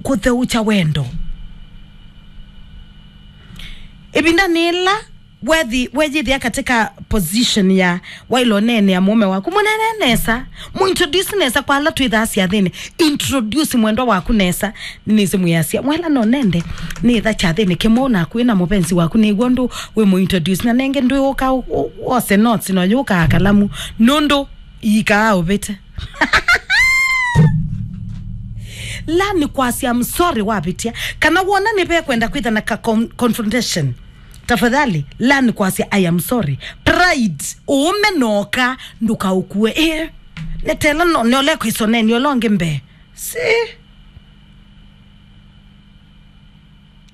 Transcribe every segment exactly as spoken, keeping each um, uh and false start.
kũtheũkya wendo. Ĩvinda nĩ ĩla wethi weyĩthĩa katika position ya waĩle ũneenea mũũme waku, mũneenee nesa, mũintroduce nesa kwa ala twĩthaa syathĩnĩ. Introduce mwendwa waku nesa. Nĩnĩsĩ mwĩasya, "Mwela no nende nĩtha kyathĩnĩ kĩmwe naku wĩ na mũvenzi waku, nĩw'o ndũ wĩ mũintroduce, na nenge ndwĩũka ũ- ũ- wose notes no yũkaa kalamu, nũndũ iikaa ũvĩte." Learn kwasya, "I'm sorry," wavĩtya. Kana wona nĩvekwenda kwĩtha na ka con- confrontation, tafadhali learn kwasya, "I am sorry." Pride, ũũme noka, ndũkaũkue. Ĩĩ, netela no nĩole kwĩsoneni ũla ũngĩ mbee. Si.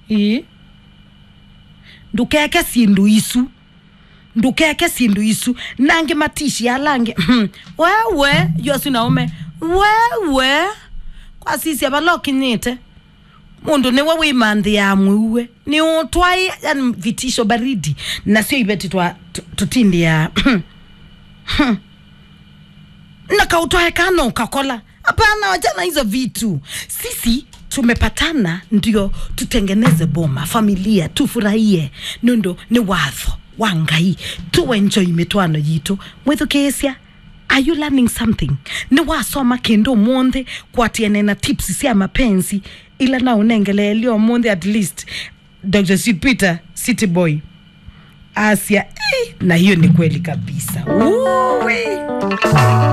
Ĩĩ. Ndũkeke syĩndũ isu. Ndũkeke syĩndũ isu. Nangĩ matishi ala angĩ. Wewe, yosu na ũme. Wewe. Kwasisya vala ũkinyĩte. Mũndũ nĩwe wĩmanthĩaa mwĩue. Nĩ ũtwaĩ, yani vitisho baridi. Nasyo iveti twa tu- tũtindĩaa. Na kaũtwae kana ũkakola. Hapana, wachana hizo vitu. Sisi tumepatana ndio tutengeneze boma, familia, tufurahie. Nũndũ nĩ watho wa Ngai. Tu enjoy mĩtwaano yitũ. Mwĩthukĩĩsya, are you learning something? Nĩwasoma kĩndũ ũmũnthĩ kwatiane na tips sya mapenzi ila na ũnengeleelio ũmũnthĩ at least. Doctor Sweet Peter, City Boy, asya, "Eh, na hiyo ni kweli kabisa." Uwi.